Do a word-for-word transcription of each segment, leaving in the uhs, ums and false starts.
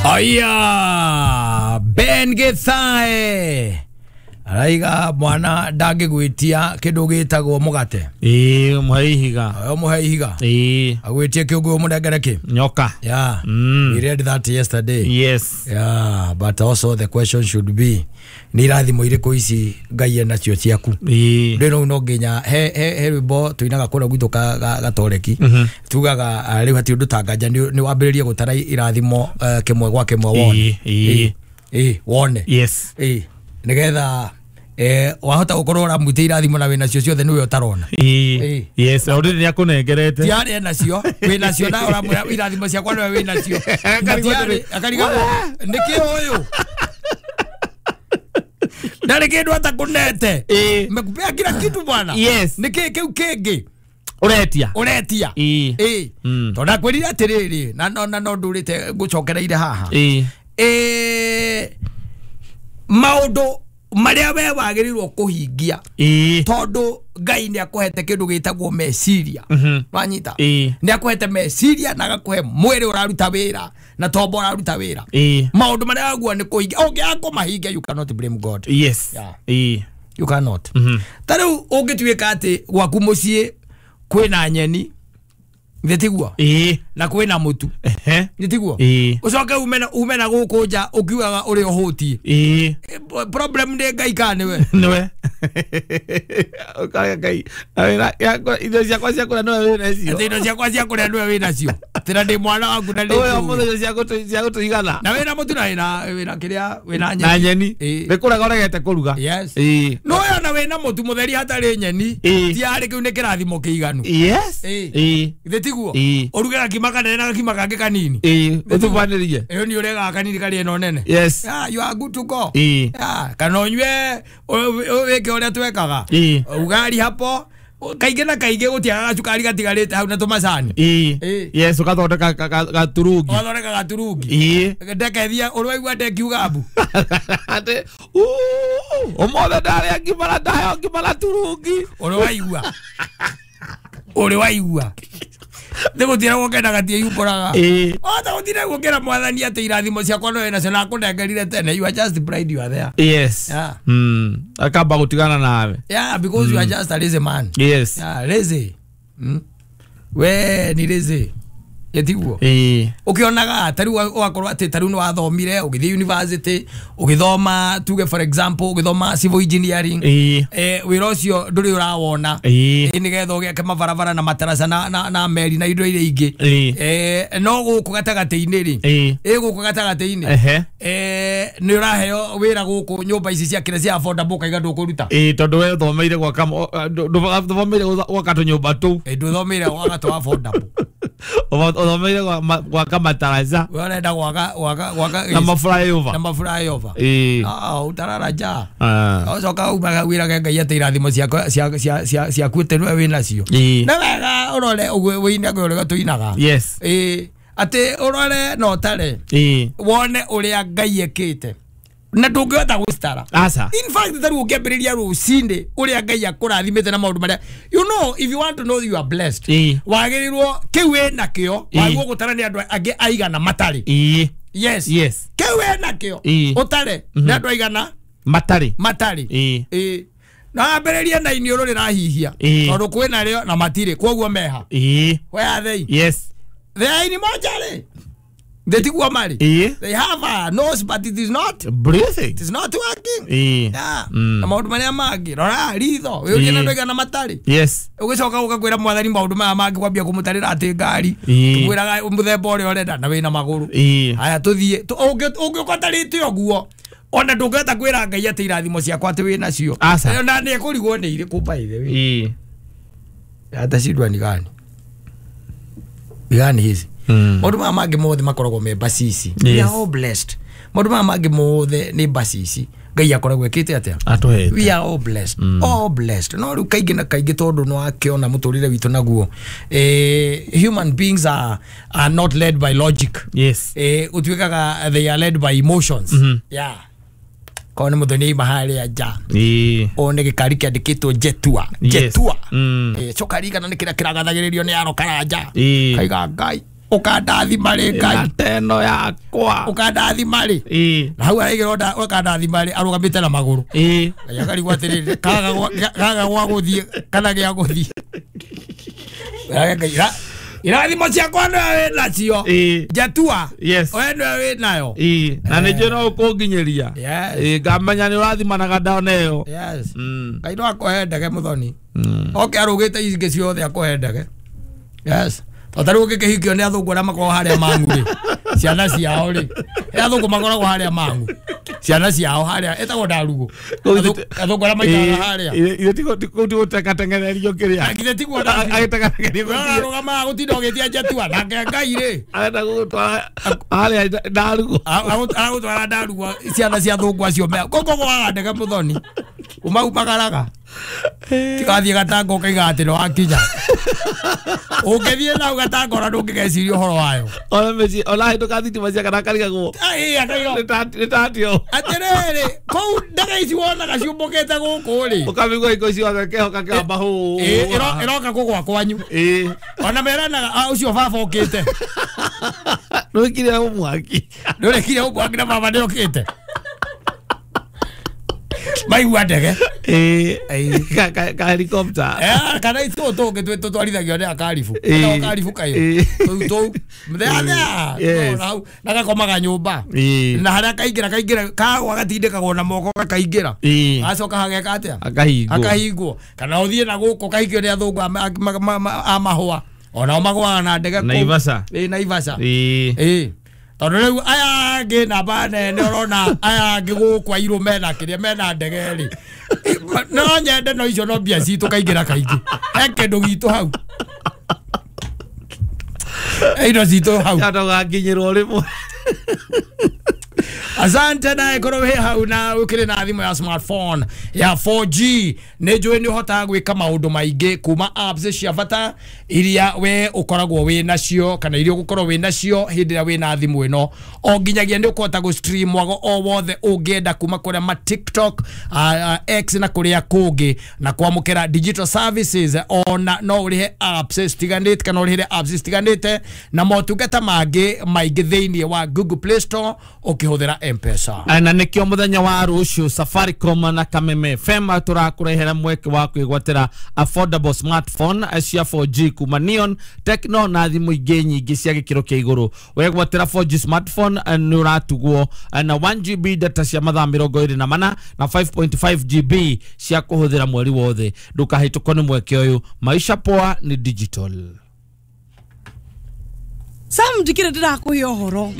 Aya Ben Githae araiga mwana ndangĩgwĩtia kĩndũ gĩtagwo mũgate. Ĩĩ mũhe ihiga. Oyo mũhe ihiga. Ĩĩ agwĩtie kĩũngũ mũnengere kĩ nyoka. Yeah. Mm. We read that yesterday. Yes. Yeah, but also the question should be nĩ irathimo irĩkũ ici Ngai enacio ciaku. Ĩĩ rĩu no nginya he he he rwĩmbo tuinaga kũrĩa gwitũ ka gatoreki tugaga rĩu hatirĩ ũndũ ta nganja nĩ wambĩrĩrie gũtara irathimo kĩmwe gwa kĩmwe wone. Ĩĩ ĩĩ wone. Yes. Ĩĩ nĩgetha eh wahota gukorwo uramwite irathimo na wina cio ciothe niwe utarona. Ĩĩ yes already ni akunengerete ti ari nacio wina cio na uramwira irathimo ciakwa niwe wina cio akarigwo niki uyu ndari kindu atakunete mekupea kila kitu bwana. Yes. Niki kiu kingi uretia uretia. Ĩĩ ĩĩ tondu akwirire atiriri na no na no ndurite ngucokereire haha. Ĩĩ ĩĩ maundu maria we wagĩrĩirwo kũhingia tondũ Ngai nĩ akũhete kĩndũ gĩtagwo meciria. Wanyita nĩ akũhete meciria na agakũhe mwĩrĩ ũraruta wĩra na tombo ũraruta wĩra. Maũndũ marĩa waguo nĩ kũhingia ũngĩaga kũmahingia you cannot blame God. Yes. Yeah. You cannot. Ta rĩu ũngĩtuĩka atĩ gwaku mũciĩ kwĩna nyeni nĩtiguo na kwĩna mũtu nĩtiguo ũcoke ume na ume na gũkũ nja ũkiugaga ũrĩa ũhũtiĩ. Ĩĩ problem nĩ Ngai kana nĩwe nĩwe ũkaga Ngai indo ciakwa cia kũrĩa nĩwe wĩna cio. Atĩ indo ciakwa cia kũrĩa nĩwe wĩna cio atĩ na ndĩ mwana waku na ndĩ ũyũ mũthenya indo cia gũtũigana na wĩna mũtu na wĩna wĩna kĩrĩa wĩna nyeni na nyeni nĩ kũrega ũregete kũruga. Yes. Ĩĩ no ũyũ na wĩna mũtu mũtheri hatarĩ nyeni ti arĩ kĩu nĩ kĩrathimo kĩiganu. Yes. Ĩĩ tiguo uruge gakima kanene na gakima kangĩ kanini. Ĩĩ ũtubanĩrie ĩyo nĩ ũregaga kanini karĩ ĩno nene. Yes. Yeah, you are good to go. Ĩĩ yeah, kana ũnyue wĩke ũrĩa twekaga ugari hapo kaingĩ na kaingĩ gũtiagaga gacukari gatigarĩte hau na tũmacani. Ĩĩ yes ũgathondeka gaturungi ũgathondeka gaturungi. Ĩĩ ndekethia ũraigua ndekiuga mbu atĩ ũmũthĩ ndarĩa ngima na ndaheo ngima na turungi ũrĩ waigua ũrĩ waigua nĩ gũtira gũkenaga tie yumbũraga ota gũtira gũkĩra mwathani atĩ irathimo ciakwa no wĩnacio na akũnengerire tene. You are just pride, you are there. Yes. Yeah. Mm. Akamba gũtigana nawe. Yeah, because mm. you are just a lazy man. Yes. Yeah, lazy. Mm. We ni lazy yetiguo ĩĩ ukionaga ta rĩu ũgakorwo atĩ ta rĩu nĩ wathomire ũgĩthiĩ university ũgĩthoma tuge for example ũgĩthoma civil engineering. Ĩĩ eh wĩra ũcio ndũrĩ ũrawona ĩĩ nĩgetha ũgĩake mabarabara na mataraca na na, na meri na indo iria ingĩ. Eh no gũkũ gatagatĩ-inĩ rĩ ĩĩ ĩ gũkũ gatagatĩ-inĩ eh nĩ ũraheo wĩra gũkũ nyũmba ici cia kĩrĩa cia affordable kaiga ndũkũruta. Ĩĩ tondũ we ũthomeire gwaka ndũthomeire gwaka tũnyũmba tũu. Ĩ ndũthomeire gwaka tũ affordable uthomeire gwaka mataraca we ũrenda gwaka gwaka gwaka na maflyover na maflyover. Ĩĩ ah utarara nja ũcoka umaga wĩrage Ngai atĩ irathimo ciakwa cia ciaku atĩ nĩwe wĩnacio ĩĩ na wega ũrore ũguo wĩinage ũrĩa tũinaga. Yes. Ĩĩ atĩ ũrore na ũtare ĩĩ wone ũrĩa Ngai ekĩte na ndũngĩhota gũcitara. Aca. In fact ta rĩu ũngĩambĩrĩria rũcinĩ ũrĩa Ngai akũrathimĩte na maũndũ marĩa you know if you want to know you are blessed wagĩrĩirwo kĩu wĩnakĩo wagĩrĩirwo gũtara nĩ andũ angĩ aigana matarĩ. Ĩĩ yes. Yes. Kĩu wĩnakĩo ũtare nĩ andũ aigana matarĩ matarĩ. Ĩĩ ĩĩ na wambĩrĩrie na iniũrũ rĩrahihia tondũ kwĩna rĩo na matirĩ kwoguo meha. Ĩĩ where are they? Yes. They are in mochari. They tiguo mari. They have a nose but it is not breathing. It is not working. Yeah. Na maundu maria mangi rora ritho wiurie na ndwega na matari. Yes. Ugicoka ugakwira mwathani maundu maya mangi kwambia kumutarira ati ngari twiraga muthemba uria urenda na wina maguru. Aya tuthie ungiuka tarite uguo ona ndungihota kwira Ngai ati irathimo ciakwa ati wina cio na ni ekurigwo ni iriku by the way. Atacindwa ni gani ni gani hizi maundu maya mangi mothe makoragwo me bacici. We are all blessed. Maundu maya mangi mothe ni bacici Ngai akoragwo ekite atia atuhete. We are all blessed. Mm. All blessed. No riu kaingi na kaingi tondu no akiona muturire witu naguo eh human beings are are not led by logic. Yes. Eh utuikaga they are led by emotions. Mm -hmm. Yeah. Kone muthoni mahali aja. Ii. One gikari kiandikitwo Jetua. Yes. Jetua. Mm. Eh cokarigana ni kira kiragathagiririo ni aro karanja. Ii. Kaiga Ngai. Ũkandathima rĩ Ngai. Teno yakwa. Ũkandathima rĩ. Ĩĩ. Na hau araigĩra ũkandathima rĩ arũgamĩte na magũrũ. Ĩĩ. Ngai akarigwo atĩrĩrĩ kaga kaga gwa gũthiĩ kana gĩa gũthiĩ. Ngai irathimo ciakwa nĩwe wĩ nacio. Njatua. Yes. We nĩwe wĩ nayo. Ĩĩ. Na nĩ njũĩ no ũkũnginyĩria. Yes. Ĩĩ ngamenya nĩ ũrathimanaga ndona ĩyo. Yes. Mm. Ngai no akũhe ndege mũthoni. Mm. Oke arũgĩte ingĩ ciothe akũhe ndege. Yes. Tondũ rĩu ũngĩkĩhikio nĩ athũngũ arĩa makoragwo harĩa Mang'u rĩ. Ciana ciao rĩ. Athũngũ makoragwo harĩa Mang'u. Ciana ciao harĩa ĩtagwo Ndarugu. Athũngũ arĩa maikaraga harĩa. Ithe tiguo gũteng'ererio kĩrĩa. Githĩ tiguo agĩteng'ererio arũgamaga gũtinda ũgĩtia njatua nake Ngai rĩ. Arenda gũgũtwara harĩa Ndarugu. Aragũtwara Ndarugu ciana cia athũngũ acio me. Kũu gwaga ndege mũthoni. Umaumagaraga. Tigathiĩ gatanga ũkaiga atĩ nĩ wakinya. Ũngĩthiĩ nau gatanga ona ndũngĩgeciria ũhoro wayo. Ona mĩciĩ ona hĩtũka thitima cia kana karigagwo. Nĩ tatio. Atĩrĩrĩ kũu ndege ici wonaga ciũmbũkĩte gũkũ rĩ. Ũkamĩigua hingo icio kehoka kĩamba hũ. Ĩroka kũgwa kwanyu. Ĩĩ. Ona meranaga ũcio baba ũkĩte. Nĩwĩkire mwaki. Nĩũrekire mwaki na baba nĩokĩte. Maigua ndege. Ĩĩ. Ka ka helicopter. Eh kana itũ tũngĩ tũtwarithagio nĩ akaribu. Kana akaribu kaĩ. Tũu tũu. Mũthenya. Hau na gakomaga nyũmba. Na harĩa kaingĩra kaingĩra kagwa gatindĩkagwo na moko gakaingĩra. Gacoka hageka atĩa? Akahingwo. Akahingwo. Kana ũthiĩ na gũkũ kahikio nĩ athũngũ a mahũa. Onao magũaga na ndege kũu. Naivasha. Ĩĩ Naivasha. Ĩĩ. Ĩĩ. Tondũ rĩu aya angĩ namba nene ũrona aya angĩ gũkũ airũ mena kĩrĩa mena ndege rĩ. No nyende no icio no mbia citũ kaingĩra kaingĩ. He kĩndũ gitũ hau. Indo citũ hau. Tũgakinyĩrwo rĩmwe. Asante na korwo wĩ hau na ũkĩrĩ na thimũ ya smartphone ya four G nĩ njũĩ nĩ ũhotaga gwĩka maũndũ maingĩ kuma apps cia bata iria we ũkoragwo wĩ nacio kana iria ũgũkorwo wĩ nacio hĩndĩ ĩrĩa wĩ na thimũ ĩno o nginyagia nĩ ũkũhota gũ stream mwago o wothe ũngĩenda kuma kũrĩa ma TikTok, uh, X na kũrĩa kũngĩ na kwamũkĩra digital services ona no ũrĩhe apps citiganĩte kana ũrĩhĩre apps citiganĩte na motungata mangĩ maingĩ thĩinĩ wa Google Play Store ũkĩhũthĩra M-Pesa. Na nĩkĩo mũthenya wa rũciũ Safaricom na Kameme F M tũrakũrehera mweke wa kwĩgwatĩra affordable smartphone cia four G kuma Neon, Tecno na thimũ ingĩ nyingĩ cia gĩkĩro kĩa igũrũ. Wegwatĩra four G smartphone nĩ ũratugwo na one G B data cia mathaa mĩrongo ĩrĩ na mana na five point five G B cia kũhũthĩra mweri wothe. Ndũkahĩtũkwo nĩ mweke ũyũ. Maisha poa ni digital. Sam ndikire ndirakuhe ũhoro.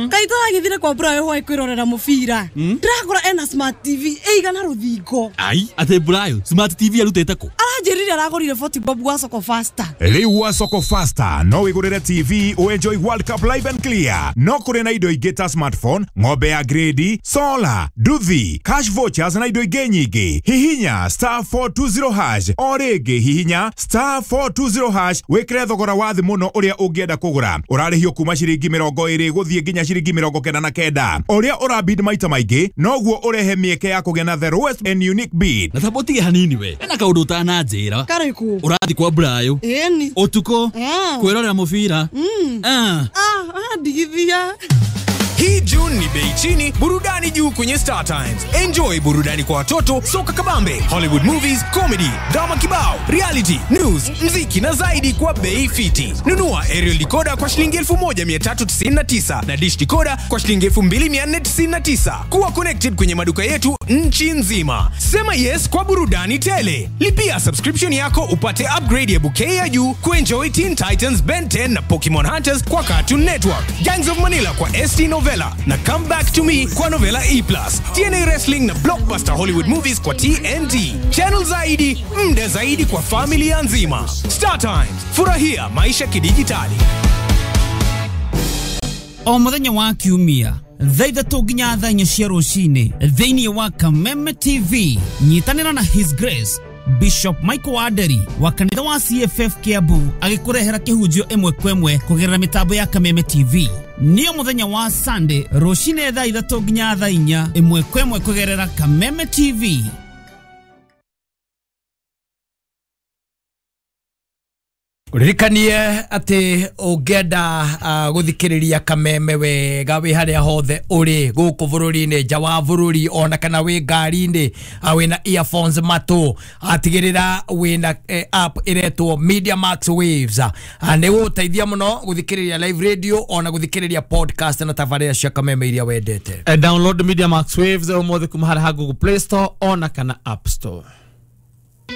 Kaĩ tũragĩthire kwa Brayo hwaĩ kwĩrorera mũbira. Ndĩrakora ena smart T V ĩigana rũthingo. Ai, atĩ Brayo smart T V arutĩte kũ? Aranjĩrire aragũrire forty bob gwa Soko Faster. Rĩu gwa Soko Faster no wĩgũrĩre T V ũenjoy World Cup live and clear. No kũrĩ na indo ingĩ ta smartphone, ng'ombe ya grade, solar, nduthi, cash vouchers na indo ingĩ nyingĩ. Hihinya star four two zero hash o rĩngĩ hihinya star four two zero hash wĩkĩre thogora wa thĩ mũno ũrĩa ũngĩenda kũgũra. Ũrarĩhio kuma ciringi mĩrongo ĩrĩ gũthiĩ nginya ciringi mĩrongo kenda na kenda. Ũrĩa ũrabid maita maingĩ noguo ũrehe mĩeke ya kũgĩa na the lowest and unique bid. Na tabo tige hanini we. Ena kaũndũ ũtananjĩra. Karĩkũ? Ũrathiĩ kwa Brayo. Ĩni. Ũtukũ. Kwĩrorera mũbira. Ah. Ah, ndigithia. Hii June ni bei chini, burudani juu kwenye Star Times. Enjoy burudani kwa watoto, soka kabambe, Hollywood movies, comedy, drama kibao, reality, news, mziki na zaidi kwa bei fiti. Nunua aerial decoder kwa shilingi elfu moja mia tatu tisini na tisa na dish decoder kwa shilingi elfu mbili mia nne tisini na tisa. Kuwa connected kwenye maduka yetu nchi nzima. Sema yes kwa burudani tele. Lipia subscription yako upate upgrade ya bouquet ya juu kuenjoy Teen Titans, Ben ten na Pokemon Hunters kwa Cartoon Network, Gangs of Manila kwa S T Novella na Come Back to Me kwa Novella E plus, T N A Wrestling na Blockbuster Hollywood Movies kwa T N T. Channel zaidi, mda zaidi kwa familia nzima. Star Times, furahia maisha kidijitali. O muthenya wa kiumia thaa ithatũ nginya thaa inya cia rũcinĩ thĩinĩ wa Kameme T V nyitanĩra na His Grace Bishop Michael Waderi wa kanitha wa C F F Kiambu agĩkũrehera kĩhunjio ĩmwe kwa ĩmwe kũgerera mĩtambo ya Kameme T V. Nĩyo mũthenya wa Sunday rũcinĩ thaa ithatũ nginya thaa inya ĩmwe kwa ĩmwe kũgerera Kameme T V. Uririkanie ati ũngĩenda uh, gũthikĩrĩria Kameme wega wĩ harĩa hothe ũrĩ gũkũ bũrũri-inĩ, nja wa bũrũri, ona kana wĩ ngari-inĩ, uh, wĩna earphones matũ, atigĩrĩra wĩna eh, app ĩretwo Media Max Waves. uh, nĩ gũgũteithia mũno gũthikĩrĩria live radio ona gũthikĩrĩria podcast na tabarĩra cia Kameme iria wendete. Eh, download Media Max Waves ũmũthĩ kuma harĩa ha Google Play Store ona kana App Store.